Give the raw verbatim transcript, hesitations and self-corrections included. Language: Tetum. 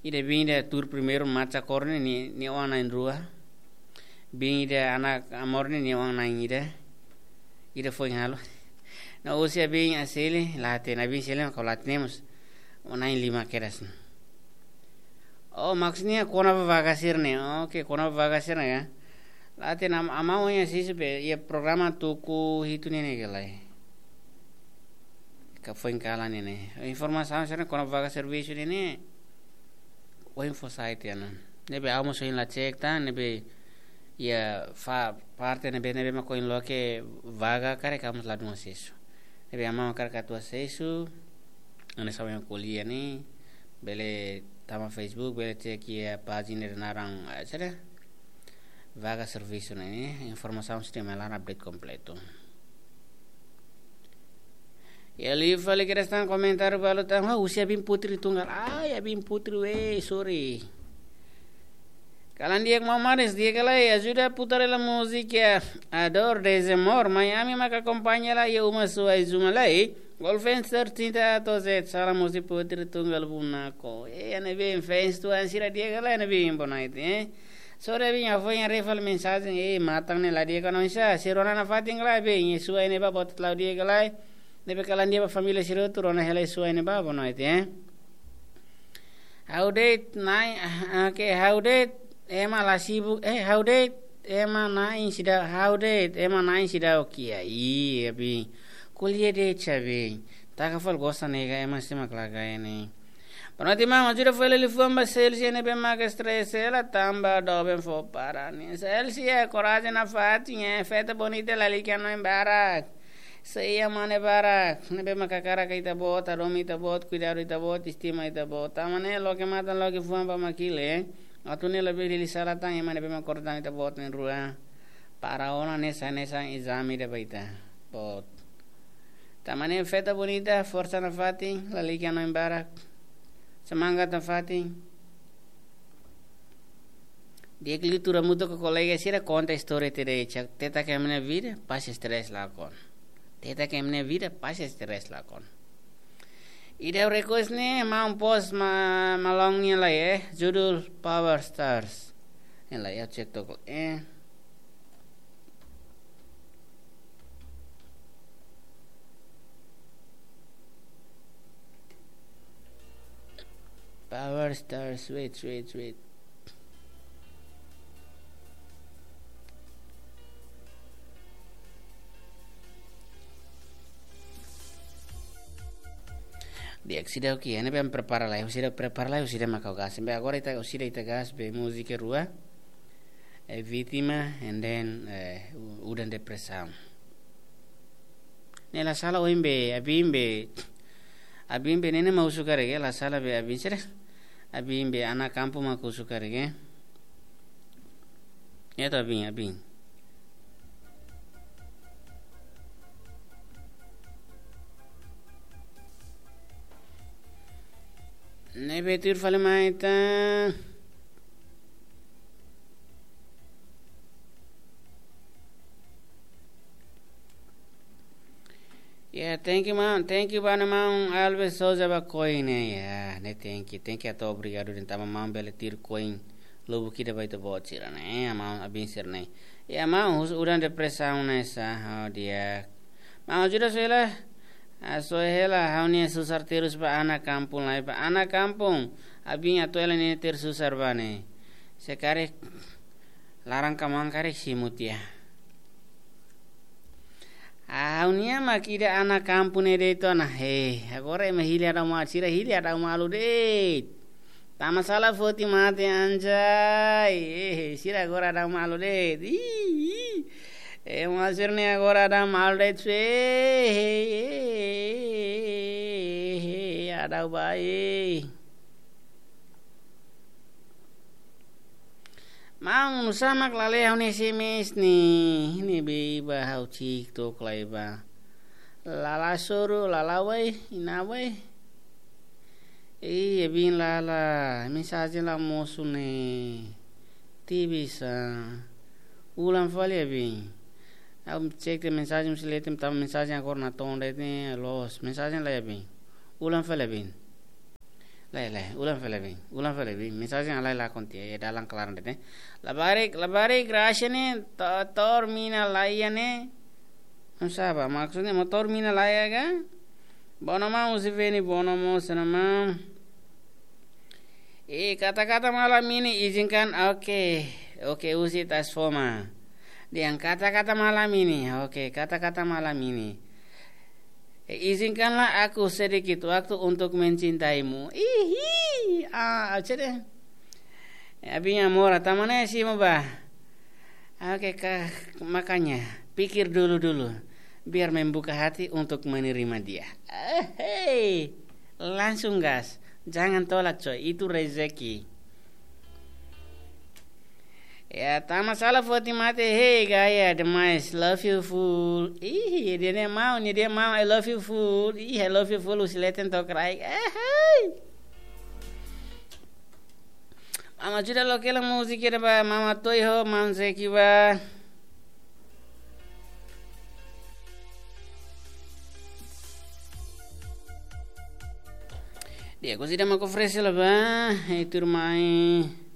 Ida biin ida tuur primeiru macha kór ne'e, nia, nia oan na'in rua. Biin ida anak amor ne'e, nia oan na'in ida. Ida foin halo. No husi biin Asili, la hatene, biin Asili mak la hatene mós. Oan na'in lima kedas. Oh, maksudnya kona-ba vaga sira-ne'e. Oke, kona-ba vaga sira-ne'e ya. La hatene, am-, amau nia sisi be, iha programa tuku hitu ne'e ne'e ka lae. Ka foin kalan ne'e ne'e. Informasaun sira-ne'e kona-ba vaga servisu ne'e ne'e. Ohin fó sai tiha ona. Ne'ebé ha'u mós ohin la cek tan, ne'ebé iha fa-, parte ne'ebé, ne'ebé mak ohin loke vaga karik ha'u mós ladún asesu. Ne'ebé amau karik atu asesu, hanesan ohin ko'alia ne'e, bele tama Facebook, bele cek iha pájina ida naran, eh, saida? Vaga servisu ne'e, informasaun sira-ne'e mak la update kompletu. Iha liu fali kedas tan komentáriu balu tan, "Wah, husi Abin Putri Tunggal." Ai, Abin Putri, weh, sorry. Kalan di'ak maun Maris, di'ak ka lae, ajuda putar hela múzika A Dor Desamor, mai ami maka akompaña hela iha uma suai zuma lai. Golfenster cinta atau Z, salam husi Putri Tunggal Bunako. Eh, ne'ebé fans tuan sira di'ak ka lae, ne'ebé boa noite, eh. Sorry, Abin, ha'u foin haree fali mensajen, eh, matan ne'e la di'ak ka lae, sá, sira rona nafatin ka lae, Abin, iha suai ne'ebá, boot la di'ak ka lae. Ne'ebé kalan di'ak ba família sira hotu, rona hela iha suai ne'ebá, boa noite, eh. Ha'u de'it na'in, ah, oke, ha'u de'it ema la sibuk, eh, ha'u de'it ema na'in seidauk, ha'u de'it ema na'in seidauk kiak. Ih, Abin. Ko'alia de'it, Abin. Taka fali gosta nega ema sira mak lagai ne'e. Boa noite, maun, ajuda fó hela liafuan ba Celsia ne'ebé mak stress hela tanba doben fó para nia. Celsia, korajen nafatin, eh, festa bonita lalika hanoin barak. Sei iha mane barak, ne'ebé mak hakarak ita-boot, hadomi ita-boot, kuidadu ita-boot, estima ita-boot. Tanba ne'e loke matan, loke fuan ba Makile, eh. Atu ne'e labele hili sala tan ema ne'ebé mak kortan ita-boot na'in rua. Para ona hanesan, hanesan ezame ida ba ita-boot. Tanba ne'e festa bonita, forsa nafatin, lalika hanoin barak. Semangat nafatin. Di'ak liu tuur hamutuk ho kolega sira konta istória ida de'it, cak teta ke mene vida, pasi stress lakon. Teta ke mene vida, pasi stress lakon. Ida request ne'e, maun post ma-, malong nia lai, eh, judul Power Stars. Nia lai, ha'u cek tok, eh. Power Stars, wait, wait, wait. Di'ak, seidauk kiak, ne'ebé ami prepara lai, seidauk prepara lai, seidauk mak ha'u gas. Be agora ita, seidauk ita gas, be múzika rua. Eh, Vítima, and then, eh, u-, Udan Depresaun. Ne'e la sala ohin be, Abin be, Abin be ne'e ne'e mak husu karik, la sala be Abin sira. Abin be Ana Kampung mak husu karik. Ya to Abin, Abin. Ne'ebé tuir fali mai ita. Ya, thank you, maun. Thank you ba maun Alves Souza ba koin ne'e. Ya, ne'e thank you. Thank you atu obrigadu de'it tanba maun bele tuir koin lubuk ida ba ita-boot sira-ne'e. Ya, maun Abin sira-ne'e. Ya, maun husu Udan Depresaun ne'e sá, oh, di'ak. Maun ajuda soe hela. Ah, soe hela, ha'u-nia susar terus ba Ana Kampung lai, ba Ana Kampung. Abin atu hela nia terus susar ba ne'e. Se karik laran kamaun karik simu tiha. Ha'u-nia mak ida Ana Kampung ne'e de'it ona. He, agora ema hili hadau malu, sira hili hadau malu de'it. Tanba sala foti mate anjay. Eh, sira agora hadau malu de'it. Ih, ih. Ema sira-ne'e agora hadau malu de'it. Eh, eh, eh, eh, hadau ba, eh. Maun, nusá mak la lee ha'u-nia S M S ne'e, ne'ebé ba ha'u cik tok lai ba. Lala soru, lala wai, ina wai. Ih, Abin lala, mensajen la mosu ne'e. Tebes, ah. Ulang fali Abin. Ha'u cek tiha mensajen, mesti lee tiha, tanba mensajen agora natoon de'it ne'e, loos. Mensajen lai Abin. Ulang fali Abin. Lae, lae, ulang fali bem, ulang fali bem. Mensajen halai lakon tiha, iha dalan klaran de'it ne'e. Labarik, labarik, Gracia ne'e, to-, to'o mina laiha ne'e. Não sabe, maksudnya motór mina laiha ka? Bono mau usi veni, bono mau sana mau. Eh, kata-kata malam ini izinkan, oke. Oke, usi tas foma. Dengan kata-kata malam ini, oke, kata-kata malam ini. Eh, izinkanlah aku sedikit waktu untuk mencintaimu. Ihi, ah, cede. Eh, abinya mora, tamane si mo ba. Oke, ka-, makanya pikir dulu-dulu, biar membuka hati untuk menerima dia. Eh, hei, langsung gas, jangan tolak coy, itu rezeki. Ya, tama sala foti mate, hei, gaya demais, love you full. Ih, dia ne'e mau, ne'e dia mau, I love you full. Ih, I love you full, usi leten to'o kraik. Eh, hei. Mama ajuda lo kela múzika ida ba, mama toi ho, mama zeki ba. Dia ko sida mako fresh la ba, eh, turmai.